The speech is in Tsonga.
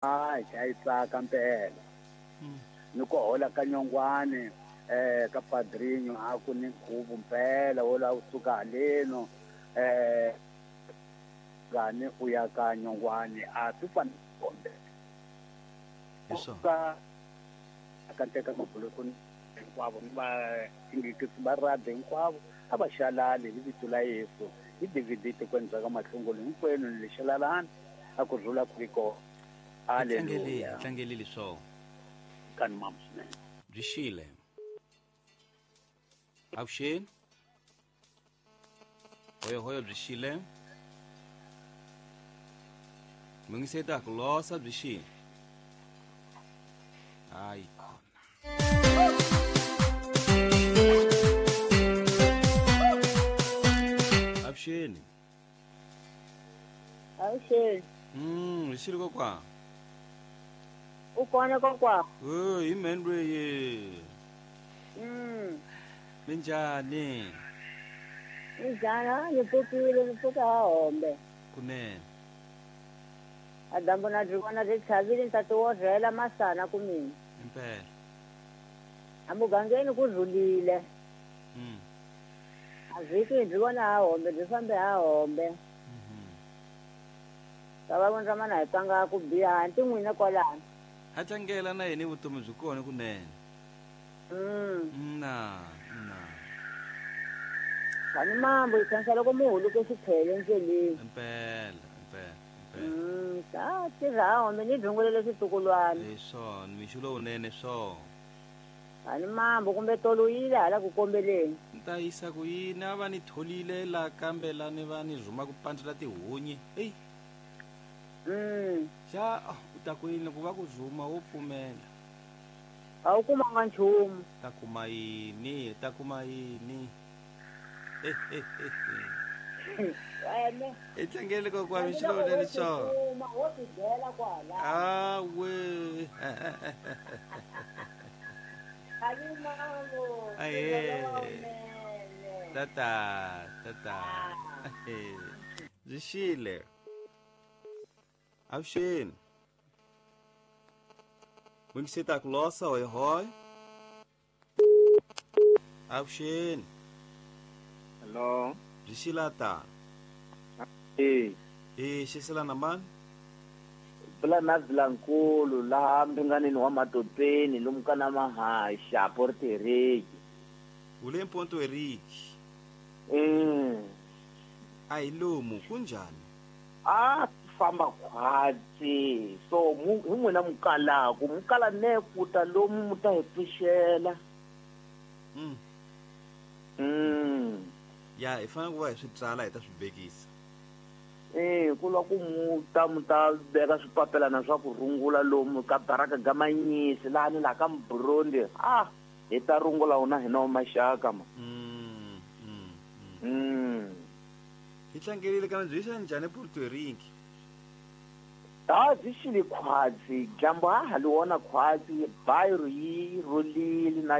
Hayi, a yi tsaka mpela. Ni ku hola ka nyongwane ka padrinho a ku ni nkhuvo mpela wo lava kusuka haleno ngani u ya ka nyongwane a swi fani kombe. Hi swona. Ka ka teka mabuluku hinkwavo ni va ingikisi va radi hinkwavo a va xalali hi vito la Yesu hi DVD tikweni bya ka mahlungulu hinkwenu ni le xalalani a ku rhula ku ri kona. Hi tlangelile, Haleluya. hi tlangelile swona. Kani mama swinene. Byi xile. Avuxeni. Hoyo hoyo byi xile. Mungiseta ku losa byi xile. Hayi khona. Avuxeni. Avuxeni. Hi xile kokwa. U kona kokwa? Eh, hi mheni lweyi. Minjhani? Minjhani? Ni pfukile, ni pfuka ha hombe. Kunene. A dyambu na byi vona byi tlhavile ni ta ti orhela masana ku mina. Impela. A mugangeni ku rhulile. A vhiki byi vona ha hombe, byi fambe ha hombe. Ka va vona mana hi twanga ku biha, hanti n'wina kwalano. Ha tlangela na yini vutomi byi kona kunene. Na, na. Kani mambo yi khensa loko mu huluke xikhele endleleni. Impela, impela, impela. Ta tirha ha hombe ni rhungulele switukulwana. Hi swona, mixo lowunene swona. Kani mambo kumbe tolo yile hala ku kombeleni. Ni ta yisa ku yini a va ni tholile la kambe la ni va ni rhuma ku pandzela tihunyi. Ey. Xa, u ta ku yini loko va ku rhuma wo pfumela? A wu kumanga nchumu. Ta kuma yini? Ta kuma yini? Wena. I tlangele kokwa mixo lowunene swona. Kuma wo ti byela kwala. Awe. Kani mambo. Ahe. Tata, tata. Byi xile. Avuxeni. Mungiseta ku losa hoy hoy. Avuxeni. Hello. Byi xila ta. Eh. Eh, xisela na mani? Bula na Vilankulu laha mbinganeni wa Matopeni lomu ka na Mahasha Port Eric. U le Port Eric. A hi lomu kunjhani? A famba khwatsi. So mu hi n'wina mukalaku, mukala ne ku ta lomu mu ta hi pfuxela. Ya hi fanele ku va hi swi tsala hi ta swi vekisa. Ku lwa ku mu ta mu ta veka swipapelana swa ku rungula lomu ka baraka ga Manyisi laha ni laha ka Mburundi. Hi ta rungula wona hina wa maxaka ma. Hi tlangerile kambe byi xa njhani Port Eric? Ta byi xile khwatsi, dyambu ha ha li wona khwatsi, bayiro yi rhulile na